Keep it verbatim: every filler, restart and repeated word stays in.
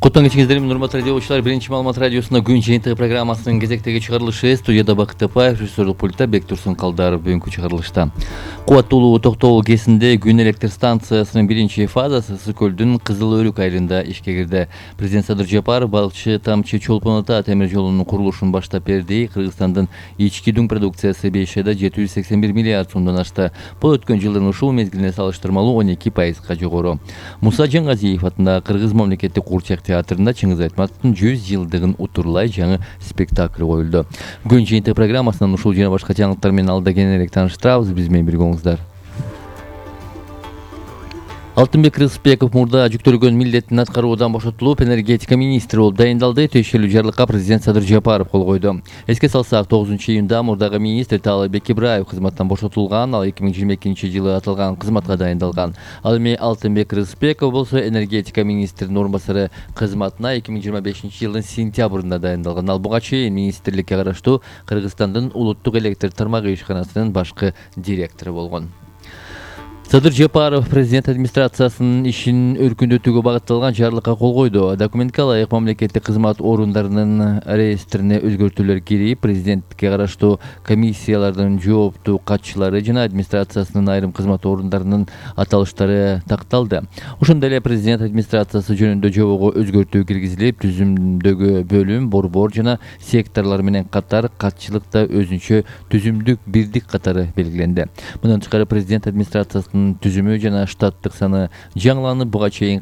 Куттан кечиңиздер, урматтуу радиочулар. Биринчи маалымат радиосунда күн жыйынтыгы программасынын кезектеги чыгарылышы. Студияда Бакыт Тапаев, режиссерлук пультта Бектурсун Калдаров. Бүгүнкү чыгарылышта кубаттуулугу токтогул кесинде күн электр станциясынын биринчи фазасы Ысык көлдүн Кызыл Өрүк айылында ишке кирди. Президент Садыр Жапаров балыкчы Тамчы Чолпон Ата темир жолунун курулушун баштап берди. Кыргызстандын ички дүң продукциясы беш айда жети жүз сексен бир миллиард сомдон ашты. Бул өткөн жылдын ушул мезгилине салыштырмалуу он эки пайызга жогору. Муса Жангазиев атындагы Кыргыз мамлекеттик курчак театрында Чыңгыз Айтматовдун жүз жылдыгын утурлай жаңы спектакль коюлду. Күн жыйынтыгы программасынан ушул жана башка жаңылыктар менен алда кененирээк тааныштырабыз. Биз менен бирге болуңуздар. Алтынбек Рыспеков мурда жүктөлгөн милдетин аткаруудан бошотулуп, энергетика министри болуп дайындалды. Тиешелүү жарлыкка президент Садыр Жапаров кол койду. Эске салсак, тогузунчу июнда мурдагы министр Таалайбек Ибраев кызматтан бошотулган. Ал эки миң жыйырма экинчи жылы аталган кызматка дайындалган. Ал эми Алтынбек Рыспеков болсо энергетика министринин орун басары кызматына эки миң жыйырма бешинчи жылдын сентябрында дайындалган. Ал буга чейин министрликке караштуу Кыргызстандын улуттук электр тармагы ишканасынын башкы директору болгон. Садыр Жапаров президент администрациясынын ишин өркүндөтүүгө багытталган жарлыкка кол койду. Документке ылайык мамлекеттик кызмат орундарынын реестрине өзгөртүүлөр кирип, президентке караштуу комиссиялардын жооптуу катчылары жана администрациясынын айрым кызмат орундарынын аталыштары такталды. Ошондой эле президент администрациясы жөнүндө жобого өзгөртүү киргизилип, түзүмдөгү бөлүм, борбор жана секторлор менен катар катчылыкта өзүнчө түзүмдүк бирдик катары белгиленди. Мындан тышкары президент администрациясынын түзүмү жана штаттык саны жаңыланып, буга чейин